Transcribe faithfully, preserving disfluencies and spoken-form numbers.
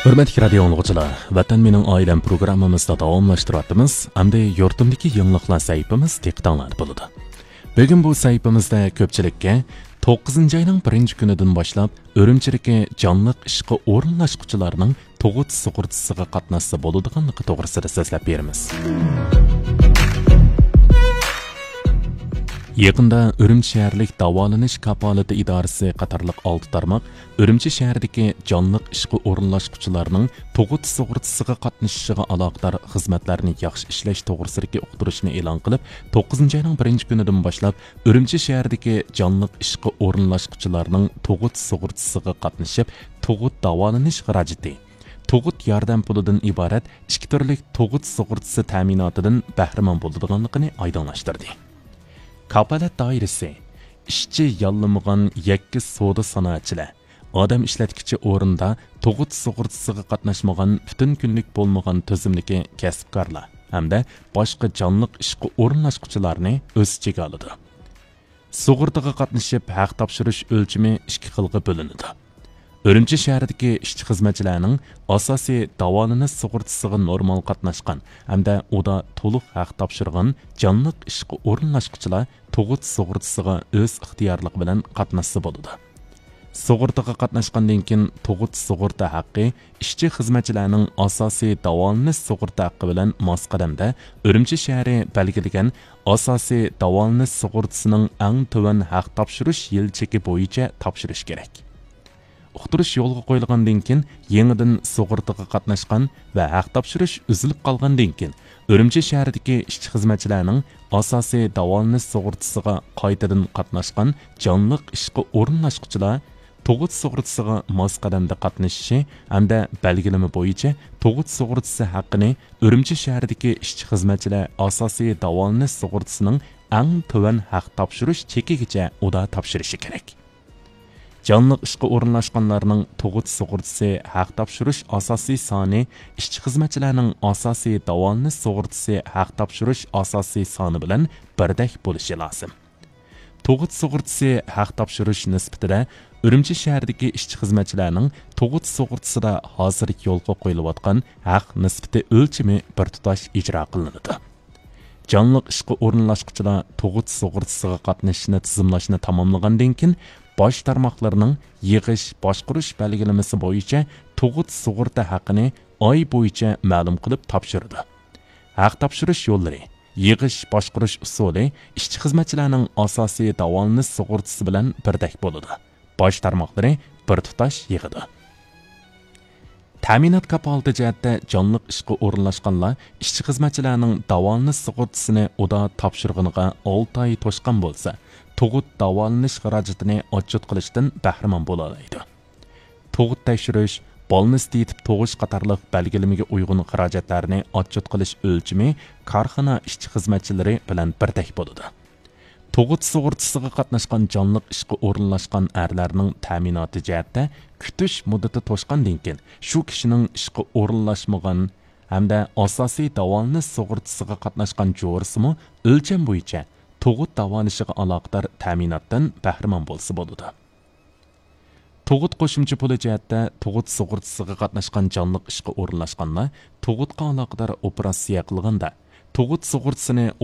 ھۆرمەتلىك رادىيو ئاڭلىغۇچىلار، ۋەتەن مېنىڭ ئائىلەم پروگراممىمىزدا داۋاملاشتۇرۇۋاتىمىز. ئەمدى يۇرتۇمدىكى يېڭىلىقلار سەھىپىمىز دىققىتىڭلاردا بولىدۇ. بۈگۈن بۇ سەھىپىمىزدە كۆپچىلىككە توققۇزىنچى ئاينىڭ بىرىنچى كۈنىدىن باشلاپ ئۈرۈمچىدىكى جانلىق ئىشقا ئورۇنلاشقۇچىلارنىڭ تۇغۇت سۇغۇرتىسىغا قاتناشسا بولىدىغانلىقى توغرىسىدا سۆزلەپ بېرىمىز. يېقىندا ئۈرۈمچى شەھەرلىك داۋالىنىش كاپالىتى ئىدارىسى قاتارلىق ئالتە تارماق ئۈرۈمچى شەھىرىدىكى جانلىق ئىشقا ئورۇنلاشقۇچىلارنىڭ تۇغۇت سۇغۇرتىسىغا قاتنىشىشىغا ئالاقىدار خىزمەتلەرنى ياخشى ئىشلەش توغرىسىدىكى ئۇقتۇرۇشنى ئېلان قىلىپ، توققۇزىنچى ئاينىڭ بىرىنچى كۈنىدىن باشلاپ ئۈرۈمچى شەھىرىدىكى جانلىق ئىشقا ئورۇنلاشقۇچىلارنىڭ تۇغۇت سۇغۇرتىسىغا قاتنىشىپ، تۇغۇت داۋالىنىش خىراجىتى، تۇغۇت ياردەم پۇلىدىن ئىبارەت ئىككى تۈرلۈك تۇغۇت سۇغۇرتىسى تەمىناتىدىن بەھرىمەن بولىدىغانلىقىنى ئايدىڭلاشتۇردى. كاپالەت دائىرىسى، ئىشچى ياللىمىغان يەككە سودا سانائەتچىلەر، ئادەم ئىشلەتكۈچى ئورۇندا تۇغۇت سۇغۇرتىسىغا قاتناشمىغان پۈتۈن كۈنلۈك بولمىغان تۈزۈمدىكى كەسىپكارلار ھەمدە باشقا جانلىق ئىشقا ئورۇنلاشقۇچىلارنى ئۆز ئىچىگە ئالىدۇ. سۇغۇرتىغا قاتنىشىپ ھەق تاپشۇرۇش ئۆلچىمى ئىككى خىلغا بۆلۈنىدۇ. ئۈرۈمچى شەھىرىدىكى ئىشچى-خىزمەتچىلەرنىڭ ئاساسىي داۋالىنىش سۇغۇرتىسىغا نورمال قاتناشقان ھەمدە ئۇدا تولۇق ھەق تاپشۇرغان جانلىق ئىشقا ئورۇنلاشقۇچىلار تۇغۇت سۇغۇرتىسىغا ئۆز ئىختىيارلىقى بىلەن قاتناشسا بولىدۇ. سۇغۇرتىغا قاتناشقاندىن كېيىن تۇغۇت سۇغۇرتا ھەققى ئىشچى-خىزمەتچىلەرنىڭ ئاساسىي داۋالىنىش سۇغۇرتا ھەققى بىلەن ماس قەدەمدە ئۈرۈمچى شەھىرى بەلگىلىگەن ئاساسىي داۋالىنىش سۇغۇرتىسىنىڭ ئەڭ تۆۋەن ھەق تاپشۇرۇش يىل چېكى بويىچە تاپشۇرۇش كېرەك. ئۇقتۇرۇش يولغا قويۇلغاندىن كېيىن، يېڭىدىن سۇغۇرتىغا قاتناشقان ۋە ھەق تاپشۇرۇش ئۈزۈلۈپ قالغاندىن كېيىن، ئۈرۈمچى شەھىرىدىكى ئىشچى-خىزمەتچىلەرنىڭ ئاساسىي داۋالىنىش سۇغۇرتىسىغا قايتىدىن قاتناشقان جانلىق ئىشقا ئورۇنلاشقۇچىلار تۇغۇت سۇغۇرتىسىغا ماس قەدەمدە قاتنىشىشى ھەمدە بەلگىلىمە بويىچە تۇغۇت سۇغۇرتىسى ھەققىنى ئۈرۈمچى شەھىرىدىكى ئىشچى-خىزمەتچىلەر ئاساسىي داۋالىنىش سۇغۇرتىسىنىڭ ئەڭ تۆۋەن ھەق تاپشۇرۇش چېكىگىچە ئۇدا تاپشۇرۇشى كېرەك. جانلىق ئىشقا ئورۇنلاشقانلارنىڭ تۇغۇت سۇغۇرتىسى ھەق تاپشۇرۇش ئاساسىي سانى ئىشچى-خىزمەتچىلەرنىڭ ئاساسىي داۋالىنىش سۇغۇرتىسى ھەق تاپشۇرۇش ئاساسىي سانى بىلەن بىردەك بولۇشى لازىم. تۇغۇت سۇغۇرتىسى ھەق تاپشۇرۇش نىسبىتىدە ئۈرۈمچى شەھىرىدىكى ئىشچى-خىزمەتچىلەرنىڭ تۇغۇت سۇغۇرتىسىدا ھازىر يولغا قويۇلۇۋاتقان ھەق نىسبىتى ئۆلچىمى بىر تۇتاش ئىجرا قىلىنىدۇ. جانلىق ئىشقا ئورۇنلاشقۇچىلار تۇغۇت سۇغۇرتىسىغا قاتنىشىشنى تىزىملاشنى تاماملىغاندىن كېيىن، باش تارماقلىرىنىڭ يىغىش باشقۇرۇش بەلگىلىمىسى بويىچە تۇغۇت سۇغۇرتا ھەققىنى ئاي بويىچە مەلۇم قىلىپ تاپشۇرىدۇ. ھەق تاپشۇرۇش يوللىرى، يىغىش باشقۇرۇش ئۇسۇلى ئىشچى-خىزمەتچىلەرنىڭ ئاساسىي داۋالىنىش سۇغۇرتىسى بىلەن بىردەك بولىدۇ. باش تارماقلىرى بىر تۇتاش يىغىدۇ. تەمىنات كاپالىتى جەھەتتە جانلىق ئىشقا ئورۇنلاشقانلار ئىشچى-خىزمەتچىلەرنىڭ داۋالىنىش سۇغۇرتىسىنى ئۇدا تاپشۇرغىنىغا ئالتە ئاي توشقان بولسا، تۇغۇت داۋالىنىش خىراجىتىنى ئاتچوت قىلىشتىن بەھرىمەن بولالايدۇ. تۇغۇت تەكشۈرۈش، بالنىست يېتىپ تۇغۇش قاتارلىق بەلگىلىمىگە ئۇيغۇن خىراجەتلەرنى ئاتچوت قىلىش ئۆلچىمى كارخانا ئىشچى-خىزمەتچىلىرى بىلەن بىردەك بولىدۇ. تۇغۇت سۇغۇرتىسىغا قاتناشقان جانلىق ئىشقا ئورۇنلاشقان ئەرلەرنىڭ تەمىناتى جەھەتتە كۈتۈش مۇددىتى توشقاندىن كېيىن، شۇ كىشىنىڭ ئىشقا ئورۇنلاشمىغان ھەمدە ئاساسىي داۋالىنىش سۇغۇرتىسىغا قاتناشقان جورىسىمۇ ئۆلچەم بويىچە تۇغۇت داۋالىشىغا ئالاقىدار تەمىناتتىن بەھرىمەن بولسا بولىدۇ. تۇغۇت قوشۇمچە پۇلى جەھەتتە تۇغۇت سۇغۇرتىسىغا قاتناشقان جانلىق ئىشقا ئورۇنلاشقانلار تۇغۇتقا ئالاقىدار ئوپېراتسىيە قىلغاندا، تۇغۇت سۇغۇرتىسىنى ئۇدا